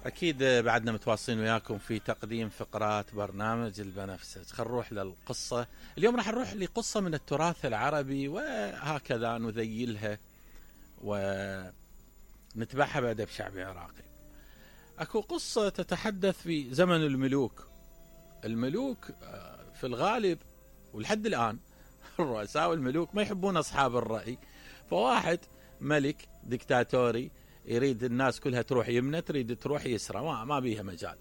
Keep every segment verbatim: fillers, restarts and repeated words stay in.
أكيد بعدنا متواصلين وياكم في تقديم فقرات برنامج البنفسج. خل نروح للقصة. اليوم راح نروح لقصة من التراث العربي وهكذا نذيلها ونتبعها بأدب شعبي عراقي. أكو قصة تتحدث في زمن الملوك. الملوك في الغالب ولحد الآن الرؤساء والملوك ما يحبون أصحاب الرأي، فواحد ملك ديكتاتوري يريد الناس كلها تروح يمنى، تريد تروح يسرى، ما, ما بيها مجال.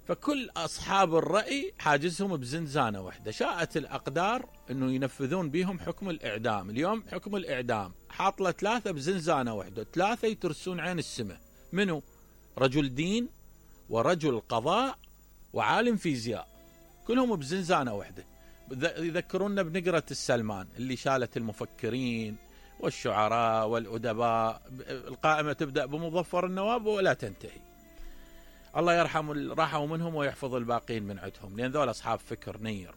فكل أصحاب الرأي حاجزهم بزنزانة واحدة. شاءت الأقدار أنه ينفذون بهم حكم الإعدام. اليوم حكم الإعدام حاط له ثلاثة بزنزانة واحدة، ثلاثة يترسون عين السماء. منو؟ رجل دين ورجل قضاء وعالم فيزياء، كلهم بزنزانة واحدة. يذكرونا بنقرة السلمان اللي شالت المفكرين والشعراء والأدباء. القائمة تبدأ بمظفر النواب ولا تنتهي. الله يرحم راحوا منهم ويحفظ الباقين من عندهم، لأن ذول أصحاب فكر نير.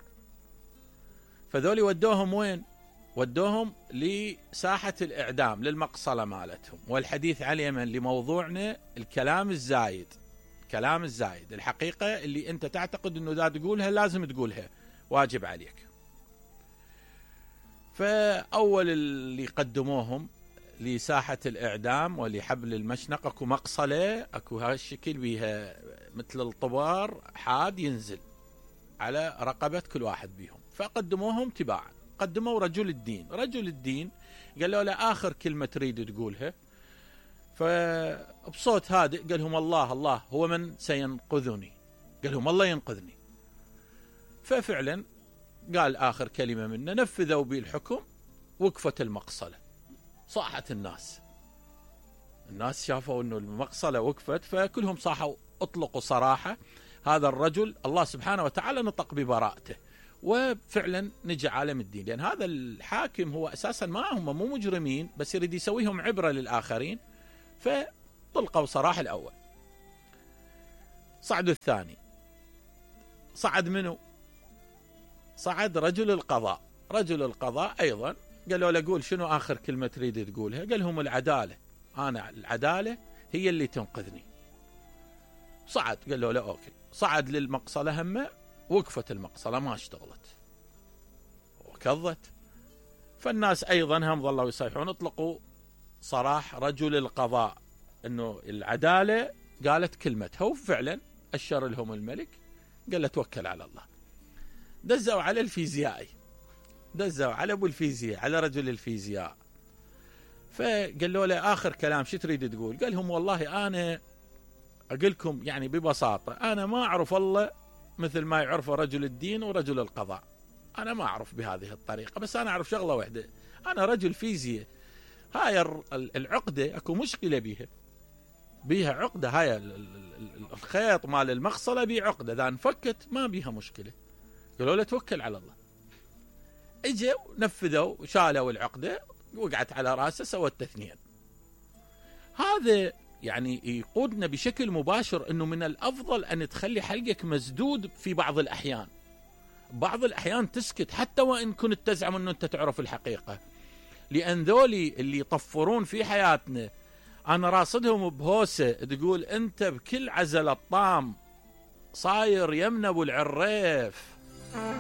فذول ودوهم وين؟ ودوهم لساحة الإعدام، للمقصلة مالتهم. والحديث عليه من لموضوعنا الكلام الزايد. كلام الزايد، الحقيقة اللي أنت تعتقد أنه ذا تقولها لازم تقولها، واجب عليك. فأول اللي قدموهم لساحة الإعدام ولحبل المشنقة أكو مقصلة، أكو هالشكل بيها مثل الطبار حاد ينزل على رقبة كل واحد بيهم. فقدموهم تباعا. قدموا رجل الدين. رجل الدين قالوا له آخر كلمة تريد تقولها. فبصوت هادئ قال لهم الله الله هو من سينقذني. قال لهم الله ينقذني. ففعلا قال آخر كلمة منه، نفذوا به الحكم، وقفت المقصلة. صاحت الناس. الناس شافوا أنه المقصلة وقفت، فكلهم صاحوا اطلقوا صراحة. هذا الرجل الله سبحانه وتعالى نطق ببراءته، وفعلا نجى عالم الدين. لأن هذا الحاكم هو أساسا ما هم مو مجرمين، بس يريد يسويهم عبرة للآخرين. فطلقوا صراحة الأول. صعدوا الثاني. صعد منه؟ صعد رجل القضاء. رجل القضاء أيضا قالوا له قول شنو آخر كلمة تريد تقولها. قال لهم العدالة، أنا العدالة هي اللي تنقذني. صعد قالوا له أوكي. صعد للمقصلة همه، وقفت المقصلة ما اشتغلت وكضت. فالناس أيضا هم ظلوا يصيحون. اطلقوا صراح رجل القضاء أنه العدالة قالت كلمتها، وفعلا أشر لهم الملك قال له توكل على الله. دزوا على الفيزيائي، دزوا على ابو الفيزياء، على رجل الفيزياء. فقالوا له آخر كلام شو تريد تقول؟ قال لهم والله أنا أقول لكم يعني ببساطة، أنا ما أعرف الله مثل ما يعرف رجل الدين ورجل القضاء. أنا ما أعرف بهذه الطريقة، بس أنا أعرف شغلة واحدة، أنا رجل فيزياء. هاي العقدة أكو مشكلة بيها، بيها عقدة. هاي الخيط مال المقصلة بيه عقدة، إذا انفكت ما بيها مشكلة. قالوا له توكل على الله. اجوا نفذوا، شالوا العقدة، وقعت على راسه، سوى التثنين. هذا يعني يقودنا بشكل مباشر انه من الافضل ان تخلي حلقك مسدود في بعض الاحيان. بعض الاحيان تسكت حتى وان كنت تزعم انه انت تعرف الحقيقة. لان ذولي اللي يطفرون في حياتنا انا راصدهم بهوسة تقول انت بكل عزل الطام صاير يمنى ابو العريف.